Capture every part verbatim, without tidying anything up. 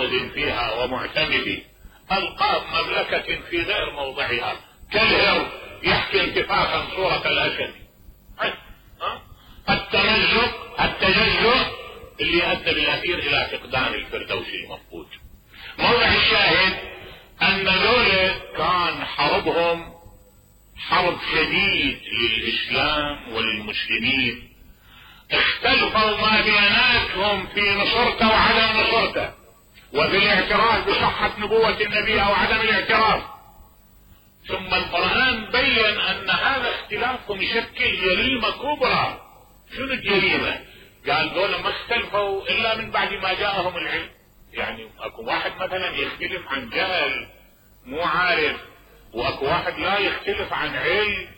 غامض فيها ومعتمد، ألقاب مملكة في غير موضعها، كالهر يحكي انتفاخا صورة الأسد. التمزق التجزؤ اللي أدى بالأخير إلى فقدان الفردوس المفقود. موضع الشاهد أن ذولا كان حربهم حرب شديد للإسلام وللمسلمين، اختلفوا ما بيناتهم في نصرته وعدم نصرته، وفي الاعتراف بصحة نبوة النبي أو عدم الاعتراف. ثم القرآن بين أن هذا اختلافهم يشكل جريمة كبرى. شنو الجريمة؟ قال دول ما اختلفوا إلا من بعد ما جاءهم العلم. يعني اكو واحد مثلا يختلف عن جهل مو عارف، واكو واحد لا يختلف عن علم.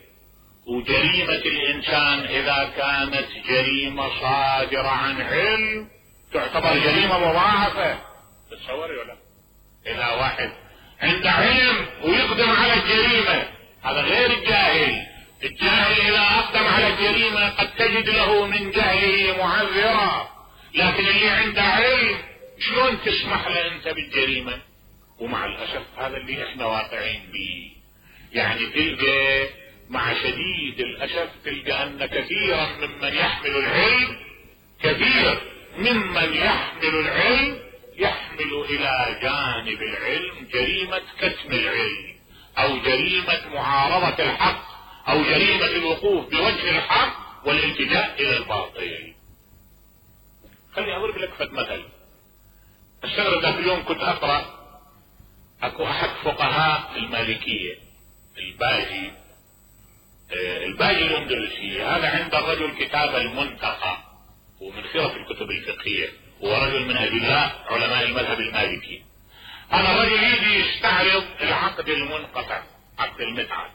وجريمة الانسان اذا كانت جريمة صادرة عن علم تعتبر جريمة مضاعفة. تتصوري ولا؟ اذا واحد عنده علم ويقدم على الجريمة، هذا غير الجاهل. الجاهل اذا اقدم على الجريمة قد تجد له من جهله معذرة، لكن اللي عنده علم شلون تسمح له انت بالجريمة؟ ومع الاسف هذا اللي احنا واقعين به. يعني تلقى مع شديد الاسف تلقى ان كثيرا ممن يحمل العلم كثير ممن يحمل العلم يحمل الى جانب العلم جريمة كتم العلم، او جريمة معارضة الحق، او جريمة الوقوف بوجه الحق والالتجاء الى الباطل. خليني اضرب لك فد مثل. الشهر ذاك اليوم كنت اقرأ اكو احد فقهاء المالكية الباجي آه الباجي الاندلسي، هذا عند الرجل كتاب المنتقى ومن خيرة الكتب الفقهية، هو رجل من ادلاء علماء المذهب المالكي. هذا الرجل يجي يستعرض العقد المنقطع، عقد المتعة.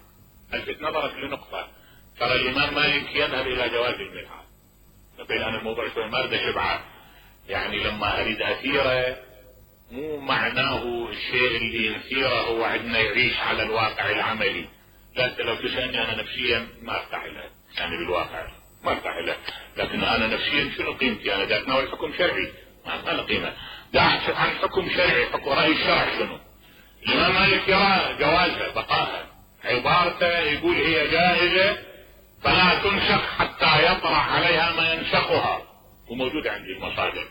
الفت نظرك لنقطة، ترى الامام مالك يذهب الى جواز المتعة. بين انا الموضوع شوي ما اريد اشبعه، يعني لما اريد اثيره مو معناه الشيء اللي يثيره هو عندنا يعيش على الواقع العملي. لكن لو تسألني انا نفسيا ما ارتاح له، يعني بالواقع ما ارتاح له، لكن انا نفسيا شنو قيمتي؟ انا دا اتناول حكم شرعي ما له قيمة، دا احث عن حكم شرعي، حكم رأي الشرع شنو؟ الامام مالك يرى جوازها بقاها، عبارته يقول هي جائزة فلا تنسخ حتى يطرح عليها ما ينسخها، وموجود عندي المصادر.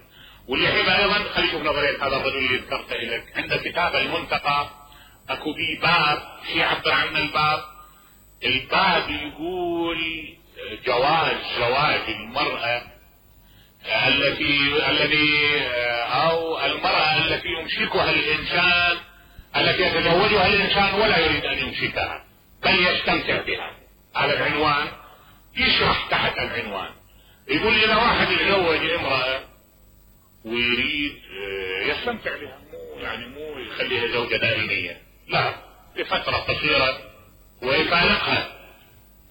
واللي يحب ايضا خلي يشوف نظرية هذا الرجل اللي ذكرته لك، عند كتاب المنتقى اكو بي باب في يعبر عن الباب. الباب يقول جواز زواج المرأة التي الذي او المرأة التي يمسكها الانسان، التي يتزوجها الانسان ولا يريد ان يمسكها بل يستمتع بها. على العنوان يشرح تحت العنوان يقول اذا واحد يتزوج امرأة ويريد يستمتع بها، مو يعني مو يخليها زوجة دائمية، لا لفترة قصيرة ويفارقها،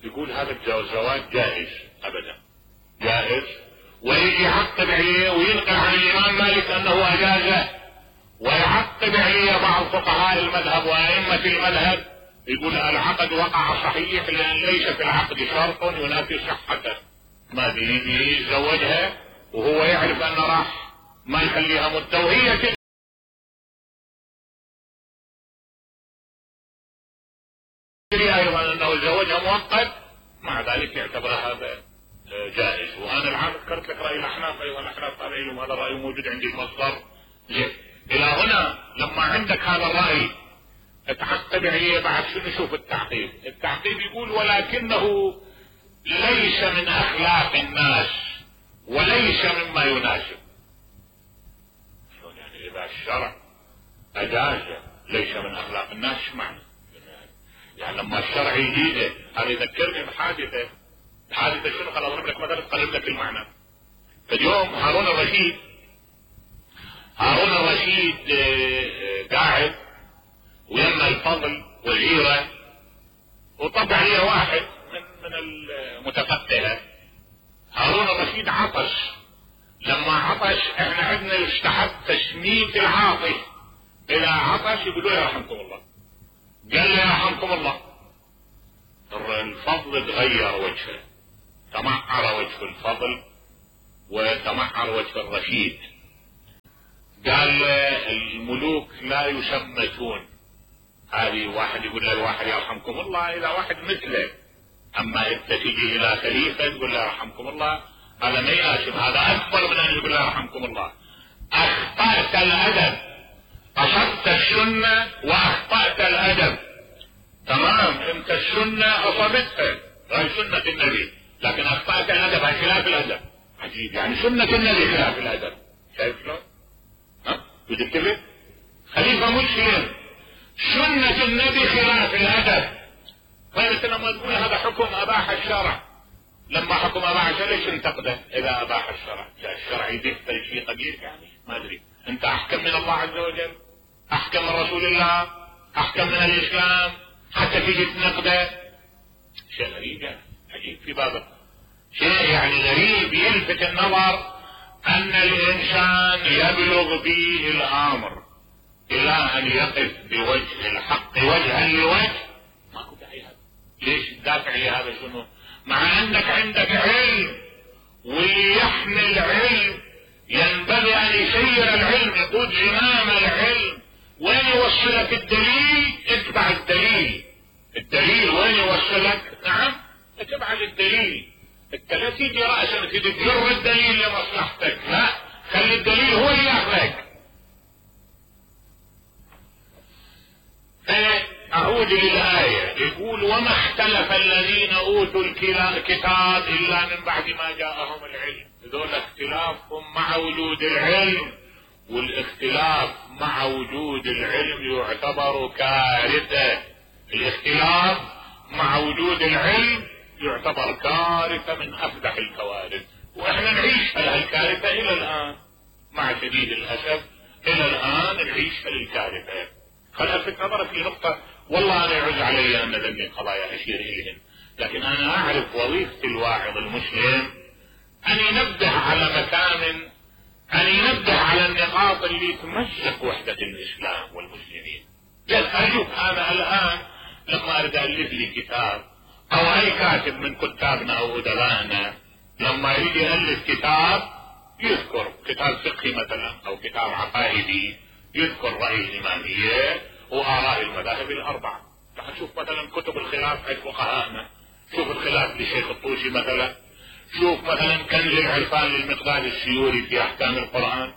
يقول هذا الزواج جائز ابدا جائز. ويجي يعقب عليه وينقل عن الامام مالك انه اجازه، ويعقب عليه بعض فقهاء المذهب وائمة المذهب يقول العقد وقع صحيح لان ليس في العقد شرط ينافي صحته. ما بيجي يتزوجها وهو يعرف انه راح ما يخليها مدة وهي تدري ايضا انه زوجها مؤقت، مع ذلك يعتبر هذا جائز. وانا العام ذكرت لك راي الاحناف، ايضا الاحناف رايهم هذا الراي موجود عندي المصدر. الى هنا لما عندك هذا الراي اتعقب عليه بعد شنو؟ شوف التعقيب. التعقيب يقول ولكنه ليس من اخلاق الناس وليس مما يناسب. يعني اذا الشرع اجاز ليس من اخلاق الناس معنى، يعني لما الشرع يجيده. هذا يذكرني بحادثة. الحادثة شنو؟ خل اضرب لك مثلا اقرب لك المعنى. اليوم هارون الرشيد هارون الرشيد قاعد ويما الفضل وزيرة، وطبع عليه واحد من من المتفتهة. هارون الرشيد عطش، لما عطش احنا عندنا يستحب تشميت العاطش، اذا عطش يقولوا له رحمكم الله، قال له رحمكم الله. الفضل تغير وجهه، تمعر وجه الفضل وتمعر وجه الرشيد. قال الملوك لا يشمتون. هذه واحد يقول له الواحد يرحمكم الله اذا واحد مثله، اما انت تجي الى خليفه تقول له يرحمكم الله، هذا ما يناسب، هذا اكبر من ان يقول له يرحمكم الله. اخطأت الادب، اصبت السنه واخطأت الادب. تمام، انت السنه اصبتها، هاي سنه النبي، لكن اخطأت الادب، هاي خلاف الادب. عجيب، يعني سنه النبي خلاف الادب. شايف شلون؟ ها بتكتبه خليفه مسلم، سنه النبي خلاف الادب. طيب انت لما تقول هذا حكم اباح الشرع، لما حكم اباح الشرع ليش تنتقده اذا اباح الشرع؟ الشرع يدخل شيء قبيح يعني، ما ادري، انت احكم من الله عز وجل، احكم من رسول الله، احكم من الاسلام، حتى تيجي تنقده. شيء غريب يعني، عجيب في بابه، شيء يعني غريب يلفت النظر ان الانسان يبلغ به الامر الى ان يقف بوجه الحق وجها لوجه. ماكو داعي هذا، ليش تدافع لهذا؟ شنو؟ مع انك عندك علم، واللي يحمل علم ينبغي ان يسير العلم، يقود زمام العلم. وين يوصلك الدليل؟ اتبع الدليل. الدليل وين يوصلك؟ نعم اتبع الدليل. انت لا تيجي راسا تجر الدليل لمصلحتك، لا، خلي الدليل هو اللي ياخذك. اعود للآية، يقول وما اختلف الذين اوتوا الكتاب الا من بعد ما جاءهم العلم. هذول اختلافهم مع وجود العلم، والاختلاف مع وجود العلم يعتبر كارثة. الاختلاف مع وجود العلم يعتبر كارثة من افدح الكوارث، واحنا نعيش على الكارثة الى الان، مع شديد الاسف الى الان نعيش على الكارثة. خل الفت نظرك في نقطة، والله انا يعز علي ان ذنبي قضايا اشير اليهن، لكن انا اعرف وظيفة الواعظ المسلم ان ينبه على مكان، ان ينبه على النقاط اللي تمزق وحدة الاسلام والمسلمين. ارجوك انا الان لما اريد الف لي كتاب، او اي كاتب من كتابنا او ادبائنا لما يريد يالف كتاب، يذكر كتاب فقهي مثلا او كتاب عقائدي، يذكر رأي الإمامية وآراء المذاهب الأربعة. تعال شوف مثلا كتب الخلاف عند فقهائنا، شوف الخلاف لشيخ الطوسي مثلا، شوف مثلا كنز العرفان للمقداد السيوري في أحكام القرآن،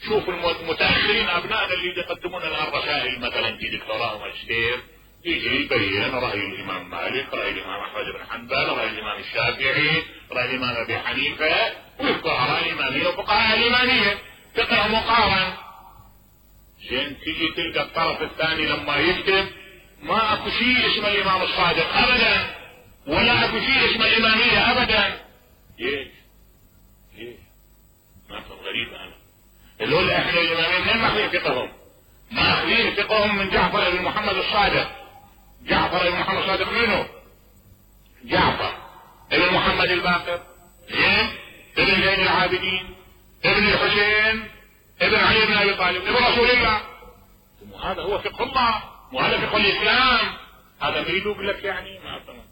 شوف المتأخرين أبنائنا اللي يقدمون الآن رسائل مثلا في دكتوراه وماجستير، يجي يبين رأي الإمام مالك، رأي الإمام أحمد بن حنبل، رأي الإمام الشافعي، رأي الإمام أبي حنيفة، ويذكر آراء الإمامية وفقهاء الإمامية، فقه مقارن. زين تيجي تلقى الطرف الثاني لما يكتب ما اكو شيء اسمه الامام الصادق ابدا، ولا اكو شيء اسمه الامامية ابدا. ليش؟ ليش؟ ما كان غريب انا. هذول احنا الامامية منين ماخذين فقههم؟ ماخذين فقههم من جعفر بن محمد الصادق. جعفر بن محمد الصادق منو؟ جعفر ابن محمد الباقر، زين، ابن زين العابدين، ابن الحسين، ابن علي بن ابي طالب، ابن رسول الله. وهذا هو فقه الله، وهذا فقه الاسلام. هذا ما يقول لك يعني ما فهم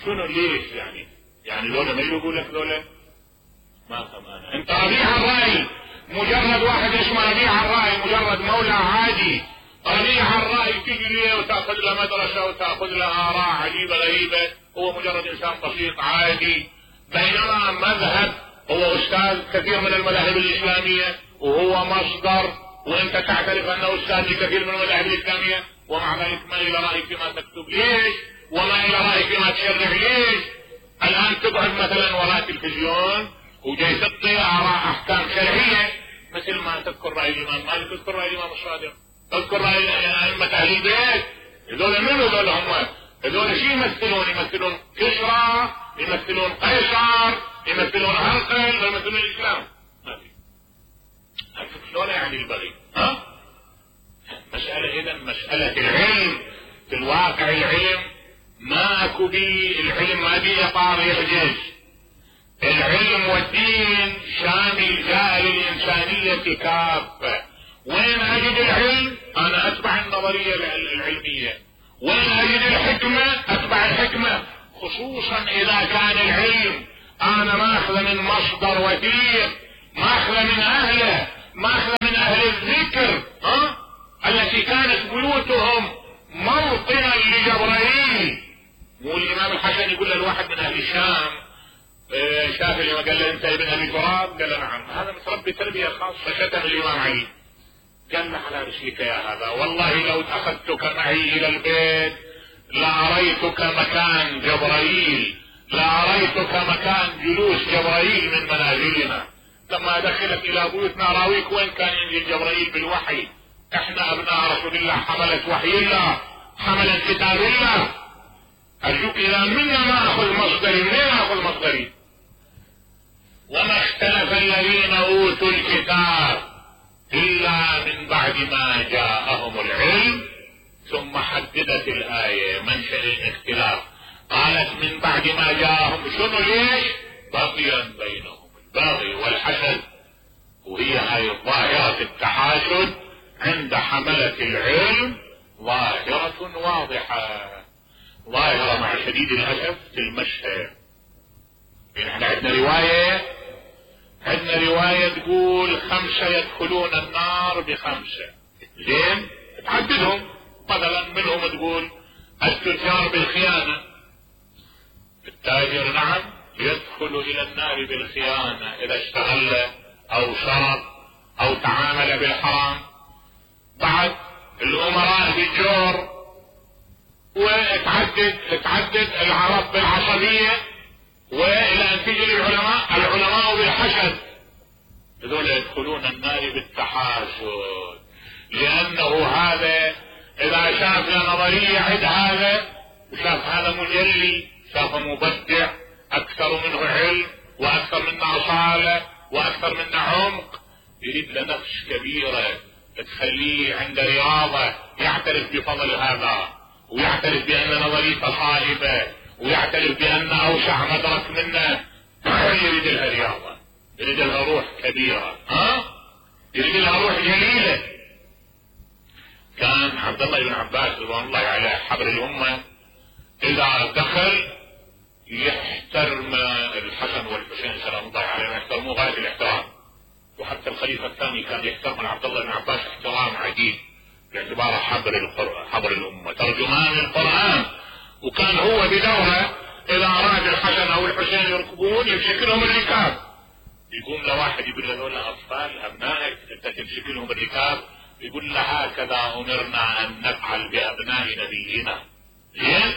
شنو ليش يعني؟ يعني لولا ما يقول لك لولا ما فهم انا. انت ربيع الراي، مجرد واحد اسمه ربيع الراي، مجرد مولى عادي، ربيع الراي تجري وتاخذ له مدرسه وتاخذ له اراء عجيبه غريبه، هو مجرد انسان بسيط عادي. بينما مذهب هو استاذ كثير من المذاهب الاسلاميه، وهو مصدر، وانت تعترف انه استاذ لكثير من المذاهب الاسلاميه، ومع ذلك ما الى رايك فيما تكتب ليش؟ وما الى رايك فيما تشرح ليش؟ الان تقعد مثلا وراء التلفزيون وجاي تعطي اراء احكام شرعيه، مثل ما تذكر راي الامام مالك، تذكر راي الامام الصادق، تذكر راي ائمه اهل البيت. هذول منو هذول؟ هم هذول شو يمثلون؟ يمثلون كسرى، يمثلون قيصر، يمثلون هرقل، يمثلون الاسلام. ما في. شلون يعني البغي؟ ها؟ مسألة اذا مسألة العلم في الواقع، العلم ماكو بي، العلم ما بي اطار يحجز. العلم والدين شامل جاء للإنسانية كافة. وين اجد العلم؟ انا اتبع النظرية العلمية. وين اجد الحكمة؟ اتبع الحكمة، خصوصا اذا كان العلم انا ماخذ من مصدر وثيق، ماخذ من اهله، ماخذ من اهل بتربية خاصة شتم الامام علي، قال له على رسلك يا هذا، والله لو اخذتك معي الى البيت لاريتك مكان جبرائيل، لاريتك مكان جلوس جبرائيل من منازلنا. لما دخلت الى بيوتنا راويك وين كان ينزل جبرائيل بالوحي. احنا ابناء رسول الله حملة وحي الله، حملة كتاب الله. ارجوك اذا منا ما اخذ مصدري، منين اخذ مصدري؟ وما اختلف الذين اوتوا الكتاب الا من بعد ما جاءهم العلم. ثم حددت الايه منشأ الاختلاف، قالت من بعد ما جاءهم، شنو ليش؟ بغيا بينهم، البغي والحسد، وهي هاي ظاهرة التحاسد عند حملة العلم ظاهرة واضحة، ظاهرة مع شديد الأسف في المشهد. يعني احنا عندنا رواية عندنا رواية تقول خمسة يدخلون النار بخمسة، زين تعددهم، مثلا منهم تقول التجار بالخيانة، التاجر نعم يدخل الى النار بالخيانة اذا اشتغل او شرب او تعامل بالحرام. بعد الامراء بالجور، وتعدد تعدد العرب بالعصبية، والى ان تجي العلماء العلماء بالحسد، هذول يدخلون النار بالتحاسد، لانه هذا اذا شاف نظرية عند هذا وشاف هذا مجلي، شاف مبدع اكثر منه علم واكثر منه اصالة واكثر منه عمق، يريد له نقش كبيرة تخليه عند رياضة، يعترف بفضل هذا ويعترف بان نظريته صائبة ويعترف بان اوسع مدرك منه. يريد لها رياضة، يريد لها روح كبيرة، ها يريد لها روح جليلة. كان عبد الله بن عباس رضوان الله عليه حبر الامة اذا دخل يحترم الحسن والحسين سلام الله عليهم، يحترموه غاية الاحترام، وحتى الخليفة الثاني كان يحترم عبد الله بن عباس احترام عجيب باعتباره حبر القرآن، حبر الامة، ترجمان القرآن. وكان هو بدوره اذا اراد الحسن او الحسين يركبون يمسك لهم الركاب، يقوم له واحد يقول له اطفال ابنائك انت تمسك لهم الركاب، يقول له هكذا امرنا ان نفعل بابناء نبينا، زين.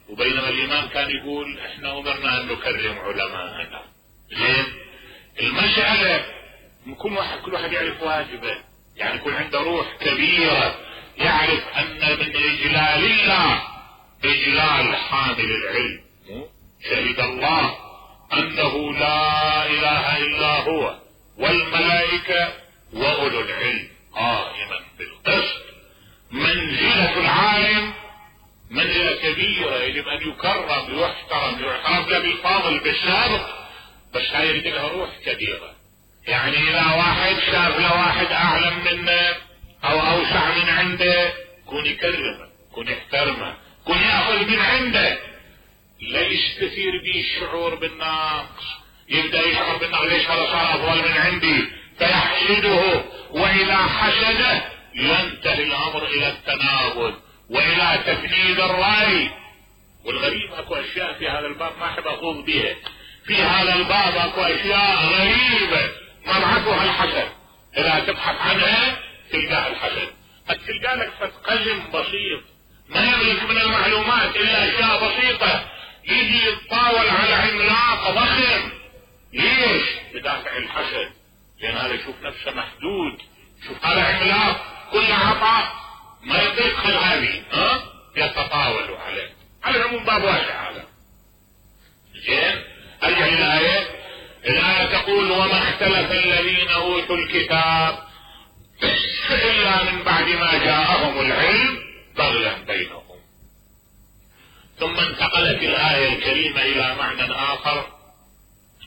وبينما الامام كان يقول احنا امرنا ان نكرم علماءنا، زين. المسألة كل واحد كل واحد يعرف واجبه، يعني يكون عنده روح كبيرة، يعرف ان من اجلال الله اجلال حامل العلم. شهد الله انه لا اله الا هو والملائكة واولو العلم قائما بالقسط. منزلة العالم منزلة كبيرة، يجب ان يكرم ويحترم ويعترف له بالفاضل بالسابق، بس هاي يريد لها روح كبيرة. يعني اذا واحد شاف له واحد اعلم منه او اوسع من عنده كون يكرمه، كون يحترمه، كون ياخذ من عنده، لا يستثير به الشعور بالنقص، يبدا يشعر بالنقص، ليش هذا صار افضل من عندي فيحسده، واذا حسده ينتهي الامر الى التنابذ والى تفنيد الراي. والغريب اكو اشياء في هذا الباب ما احب اخوض بها، في هذا الباب اكو اشياء غريبة مبعثها الحسد، اذا تبحث عنها تلقاها الحسد، تلقى لك فتقلم بسيط ما يملك من المعلومات الا اشياء بسيطة، يجي يتطاول على عملاق ضخم. ليش؟ بدافع الحسد، لان هذا يشوف نفسه محدود، شوف هذا عملاق كل عطاء ما يدخل هذه، ها يتطاول عليه. على العموم باب واسع هذا، زين. ارجع للآية. الآية تقول وما اختلف الذين اوتوا الكتاب الا من بعد ما جاءهم العلم بغيا بينهم. ثم انتقلت الآية الكريمة الى معنى اخر،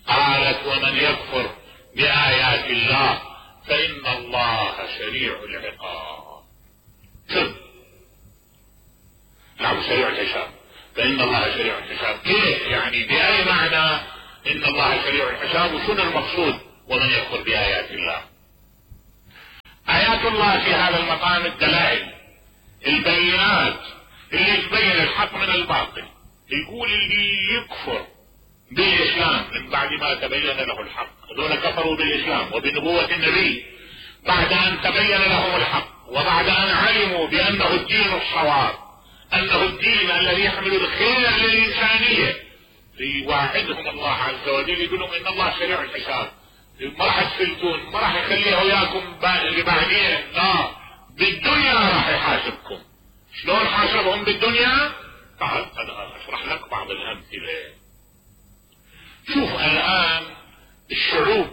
قالت ومن يكفر بآيات الله فإن الله سريع العقاب. شوف نعم سريع الحساب، فإن الله سريع الحساب كيف يعني؟ بأي معنى إن الله سريع الحساب؟ وشنو المقصود ومن يكفر بآيات الله؟ آيات الله في هذا المقام الدلائل البينات اللي تبين الحق من الباطل. يقول اللي يكفر بالاسلام من بعد ما تبين له الحق. هذول كفروا بالاسلام وبنبوة النبي بعد ان تبين لهم الحق وبعد ان علموا بانه الدين الصواب، انه الدين الذي يحمل الخير للانسانية. يواعدهم الله عز وجل يقول لهم ان الله سريع الحساب، ما راح تفلتون، ما راح يخليه وياكم بعدين، لا بالدنيا راح يحاسبكم. شلون حاسبهم بالدنيا؟ تعال انا اشرح لك بعض الامثله. شوف الان الشعوب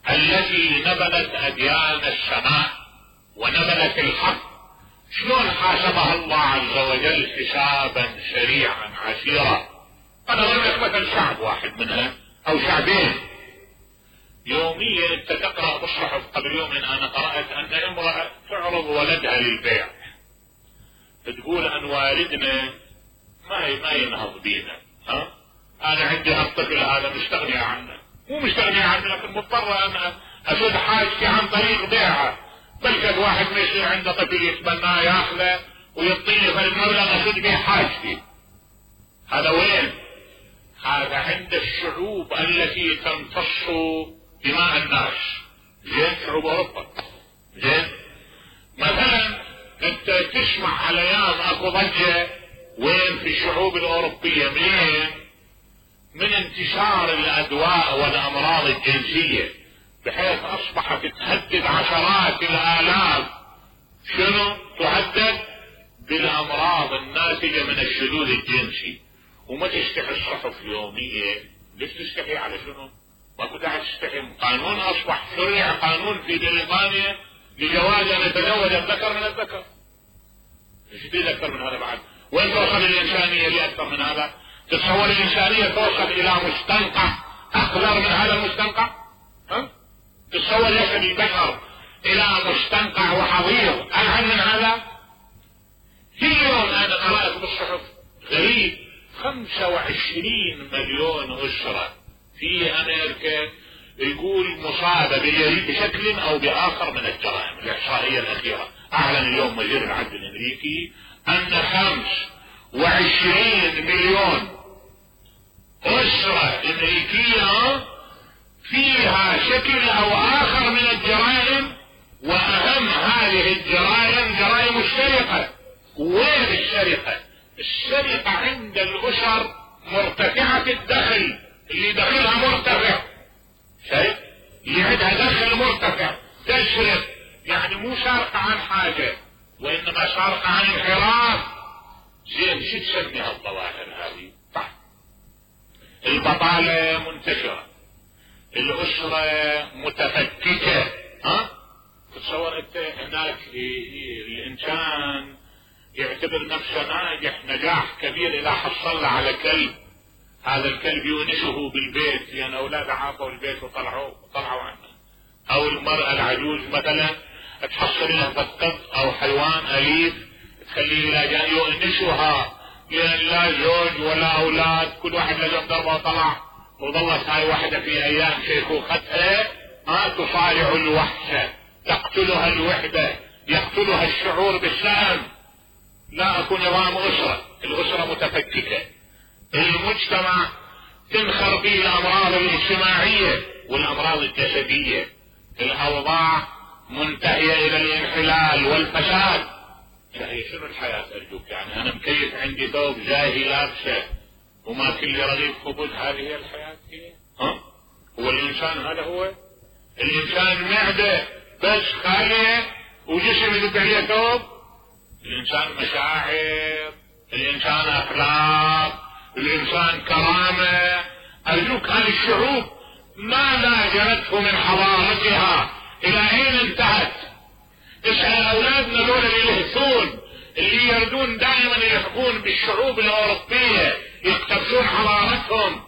التي نبذت اديان السماء ونبذت الحق شلون حاسبها الله عز وجل حسابا سريعا عسيرا. انا اقول لك مثلا شعب واحد منها او شعبين. يوميا انت تقرا بالصحف، قبل يوم انا قرات ان امراه تعرض ولدها للبيع، تقول ان والدنا ما ما ينهض بينا، ها انا عندي هالطفل هذا مستغني عنه، مو مستغني عنه لكن مضطر ان اسد حاجتي عن طريق بيعه. بل واحد ما يصير عنده طفل يتبناه ياخذه ويعطيني فالمبلغ اسد به حاجتي. هذا وين؟ هذا عند الشعوب التي تمتص دماء الناس. زين شعوب اوروبا. زين مثلا انت تسمع على ايام اكو ضجه وين في الشعوب الاوروبيه منين؟ من انتشار الادواء والامراض الجنسيه، بحيث اصبحت تهدد عشرات الالاف. شنو تهدد؟ بالامراض الناتجه من الشذوذ الجنسي. وما تستحي الصحف يوميا. ليش تستحي؟ على شنو؟ ماكو داعي تستحي. قانون اصبح شرع قانون في بريطانيا لجواز ان يتزوج الذكر من الذكر. ايش بدي اكثر من هذا بعد؟ وين توصل الانسانيه لاكثر من هذا؟ تتصور الانسانيه توصل الى مستنقع اخضر من هذا المستنقع؟ ها؟ تتصور يصل البشر الى مستنقع وحظير اعلى من هذا؟ في يوم انا قرات بالصحف غريب، خمسة وعشرين مليون اسره في امريكا يقول مصابه بشكل او باخر من الجرائم. الاحصائيه الاخيره اعلن اليوم وزير العدل الامريكي ان خمس وعشرين مليون اسره امريكيه فيها شكل او اخر من الجرائم، واهم هذه الجرائم جرائم السرقه. وين السرقه؟ السرقه عند الاسر مرتفعه الدخل، اللي دخلها مرتفع. شايف؟ اللي عندها دخل مرتفع تسرق، يعني مو سارقه عن حاجه وانما سارقه عن انحراف. زين شو تسمي هالظواهر هذه؟ طيب البطاله منتشره، الاسره متفككه. ها؟ تصور انت هناك الانسان يعتبر نفسه ناجح نجاح كبير اذا حصل على كلب، هذا الكلب يونسه بالبيت لان يعني اولاده عاقوا البيت وطلعوا وطلعوا عنه. او المراه العجوز مثلا تحصل لها قط او حيوان اليف تخليه الى جانب يونسها لان لا زوج ولا اولاد، كل واحد لجم دربه وطلع، وظلت هاي واحدة في ايام شيخوختها ما تصارع الوحشة، تقتلها الوحدة، يقتلها الشعور بالسلام. لا اكو نظام اسرة، الاسرة متفككة، المجتمع تنخر فيه الامراض الاجتماعية والامراض الجسدية، الاوضاع منتهية الى الانحلال والفساد. هي شنو الحياة ارجوك؟ يعني انا مكيف عندي ثوب جاهي لابسه وما كل رغيف خبز، هذه هي الحياة هي؟ ها؟ هو الانسان هذا هو؟ الانسان معدة بس خالية وجسم يدق عليه ثوب؟ الانسان مشاعر، الانسان اخلاق، الانسان كرامة. ارجوك هذه الشعوب ما لاجرته من حضارتها الى اين انتهت؟ اسأل اولادنا دول اللي يلهثون، اللي يردون دائما يحكون بالشعوب الاوروبية يقتبسون حضارتهم،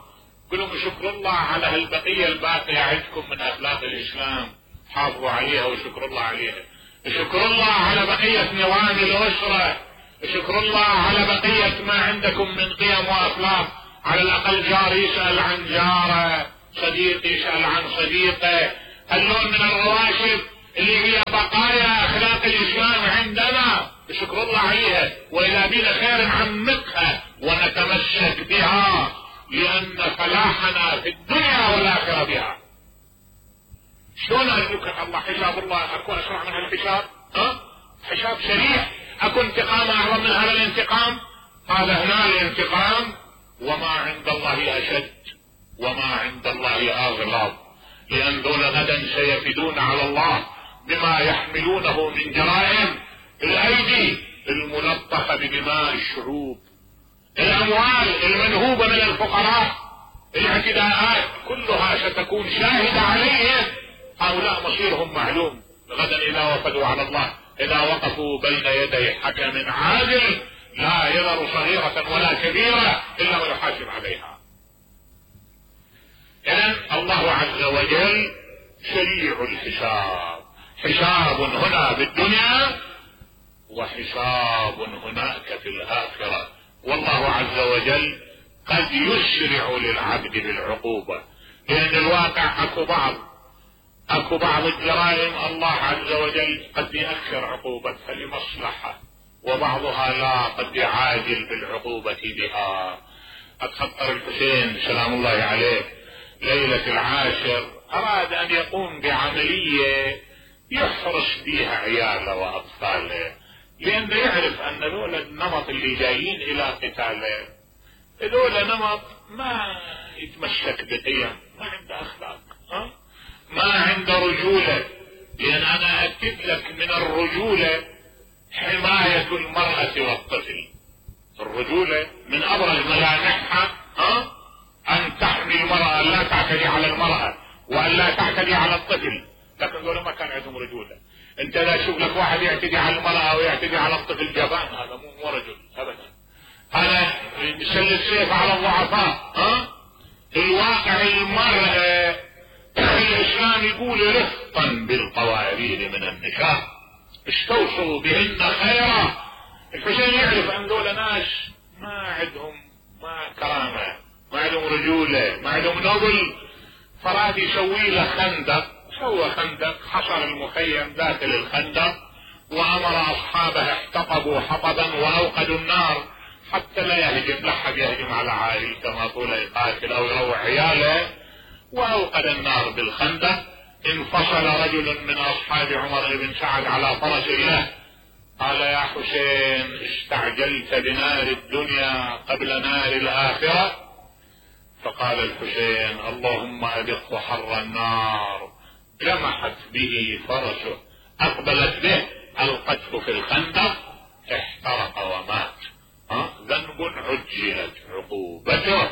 قلوا شكر الله على هالبقية الباقية عندكم من اخلاق الاسلام، حافظوا عليها وشكر الله عليها. شكر الله على بقية نظام الاسرة، شكر الله على بقية ما عندكم من قيم واخلاق. على الاقل جار يسأل عن جاره، صديق يسأل عن صديقه. هاللون من الرواشد اللي هي بقايا اخلاق الاسلام عندنا شكر الله عليها، واذا بينا خير نعمقها ونتمسك بها، لان فلاحنا في الدنيا والاخره بها. شلون يمكن الله حساب الله اكون اسرع من هالحساب؟ ها؟ حساب سريع، اكو انتقام اعظم من هذا الانتقام؟ هذا هنا الانتقام، وما عند الله اشد وما عند الله اغلظ، لان دول غدا سيفدون على الله بما يحملونه من جرائم الايدي الملطخه بدماء الشعوب، الاموال المنهوبه من الفقراء، الاعتداءات كلها ستكون شاهده عليهم. هؤلاء مصيرهم معلوم غدا اذا وفدوا على الله، اذا وقفوا بين يدي حكم عادل لا يذر صغيرة ولا كبيرة الا ويحاسب عليها. اذن الله عز وجل سريع الحساب، حساب هنا في الدنيا وحساب هناك في الاخرة. والله عز وجل قد يسرع للعبد بالعقوبة، لان الواقع اكو بعض اكو بعض الجرائم الله عز وجل قد يأخر عقوبتها لمصلحة، وبعضها لا قد يعاجل بالعقوبة بها. اتخطر الحسين سلام الله عليه ليلة العاشر اراد ان يقوم بعملية يحرس بها عياله واطفاله، لانه يعرف ان ذول النمط اللي جايين الى قتاله ذول نمط ما يتمسك بقيم، ما عنده اخلاق، ها؟ ما عنده رجولة. لان انا اكد لك من الرجولة حماية المرأة والطفل. الرجولة من ابرز ملامحها ها ان تحمي المرأة، لا تعتدي على المرأة وان لا تعتدي على الطفل. لكن دول ما كان عندهم رجولة. انت لا تشوف لك واحد يعتدي على المرأة ويعتدي على الطفل جبان، هذا مو رجل ابدا. انا يسل السيف على الضعفاء. ها الواقع المرأة الاسلام يقول رفقا بالقوارير من النساء استوصوا بهن خيرا. الحسين يعرف ان دول ناس ما عندهم ما كرامة، ما عندهم رجولة، ما عندهم نبل، فراد يسوي له خندق. سوى خندق، حصر المخيم داخل الخندق، وامر اصحابه احتطبوا حطبا واوقدوا النار حتى لا يهجم، لا حد يهجم على عائلته ما طول يقاتل او يروع عياله، واوقد النار بالخندق. انفصل رجل من اصحاب عمر بن سعد على فرس له، قال يا حسين استعجلت بنار الدنيا قبل نار الاخرة؟ فقال الحسين اللهم ادق حر النار. لمحت به فرسه، اقبلت به، القته في الخندق، احترق ومات. ها ذنب عجلت عقوبته